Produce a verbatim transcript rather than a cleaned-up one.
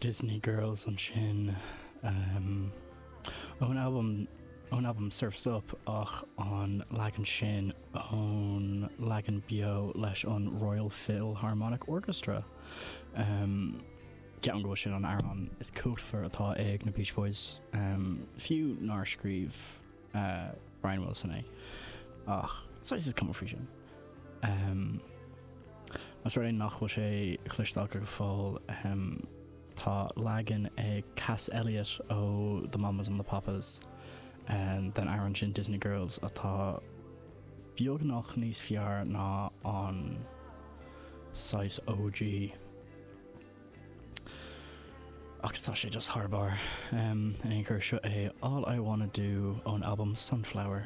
Disney Girls ansin um, ón album ón album Surf's Up ach an leagan sin ón leagan beo leis an Royal Philharmonic Orchestra. Um, Ceapaim go bhfuil sin an amhrán is cumhachtaí atá ag na Beach Boys um, fiú nár scríobh uh, Brian Wilson é ach saghas is cuma faoi sin. Um, Más rud é nach bhfuil sé cloiste agat go fóill um, tá leagan ag Cass Elliot ó The Mamas and the Papas um, den amhrán sin Disney Girls atá beagnach níos fearr ná an saghas OG. Agus tá sé just thar barr um, in aon chor seo é All I Wanna Do ón album Sunflower.